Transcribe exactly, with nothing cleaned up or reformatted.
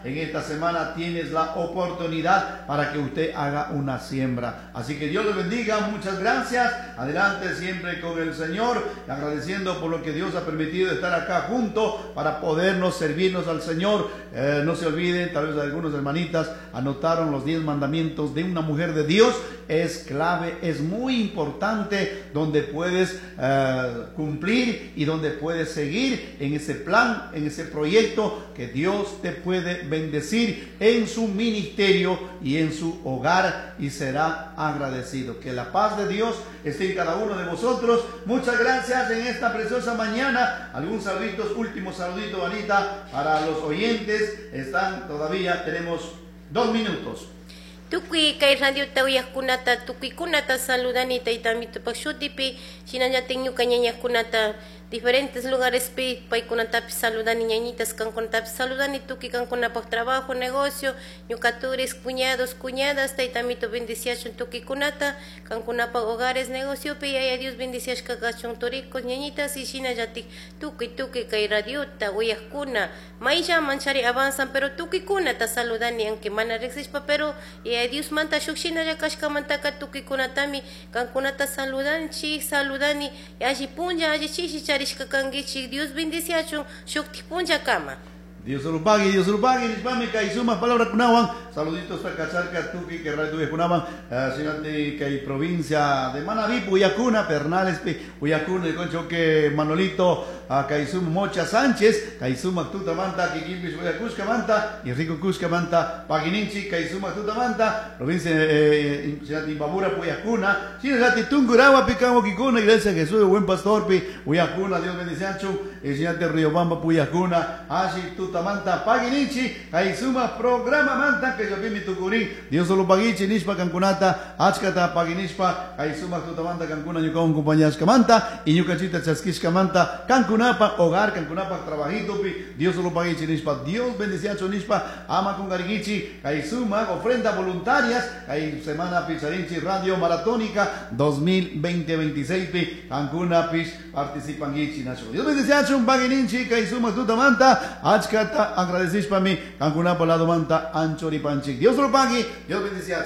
En esta semana tienes la oportunidad para que usted haga una siembra. Así que Dios le bendiga, muchas gracias. Adelante siempre con el Señor, agradeciendo por lo que Dios ha permitido estar acá junto para podernos servirnos al Señor. Eh, no se olviden, tal vez algunos hermanitas anotaron los diez mandamientos de una mujer de Dios. Es clave, es muy importante, donde puedes eh, cumplir y donde puedes seguir en ese plan, en ese proyecto que Dios te puede bendecir en su ministerio y en su hogar, y será agradecido. Que la paz de Dios esté en cada uno de vosotros. Muchas gracias en esta preciosa mañana. Algún saludito, último saludito, Anita, para los oyentes. Están todavía, tenemos dos minutos. Tukuy kay radiota uyaqkunata tukuykunata saludani tayta Amitupak shutipi, shinallatik ñuka ñañakunata diferentes lugares pi paykunatapis saludani, ñañitas kankunatapis saludani, tukuy kankunapak trabajo, negocio, ñuka turis, cuñados, cuñadas, tayta Amito bendiciachun tukuykunata, kankunapak hogares, negociopi, Yaya Dios bendiciashka kachun turicos, ñañitas, y shinallatik tukuy tukuy kay radiota uyaqkuna mayllaman chari avanzan, pero tukuykunata saludani, aunque mana riqsishpa, pero Yaya Dios manta shuk shinalla kashkamantaka tukuykunatami kankunata saludanchik, saludani, alli punlla, alli chishi charishka kankichik, Dios bendiciachun shuktik punllakama. Dios lo pague, Dios lo pague, nishpami kay sumak palabrakunawan. Saluditos a Cacharca, tukuy, que radio kunawan, uh, kay provincia de Manabí, Uyacuna, Pernales, Uyacuna, el concho que Manolito, uh, kay suma Mocha Sánchez, kay suma tutamanta, Kikimpis, Uyacushka manta, y Rico Cushka manta, Paguininchi, kay suma tutamanta, provincia eh, Imbabura, Uyacuna, Sinati Tungurahua, Picango, Kikuna, Iglesia Jesús, el buen pastor, pi, Uyacuna, Dios bendice, Sinati Riobamba, Uyacuna, Ashi, Tutamanta, Paguininchi, kay suma programa manta, que yo vi mi tucurín, Dios solo paguichi, nishpa kankunata, achkata paguinishpa, kay suma tutamanta, kankuna ñukawan compañashka manta, y ñukachita chaskishka manta, kankunapa hogar, kankunapa trabajito pi, Dios solo paguichi, nishpa, Dios bendiciacho nishpa, ama con garigichi, kay suma ofrenda voluntarias, kay semana picharinchi, radio maratónica dos mil veinte veintiséis pi, kankuna pis participangichi, nacho. Dios bendiciacho, paguininchi, kay suma tutamanta, achkata agradecishpa mi, kankunapa lado manta, anchori panchik. Dios lo pague, Dios bendice.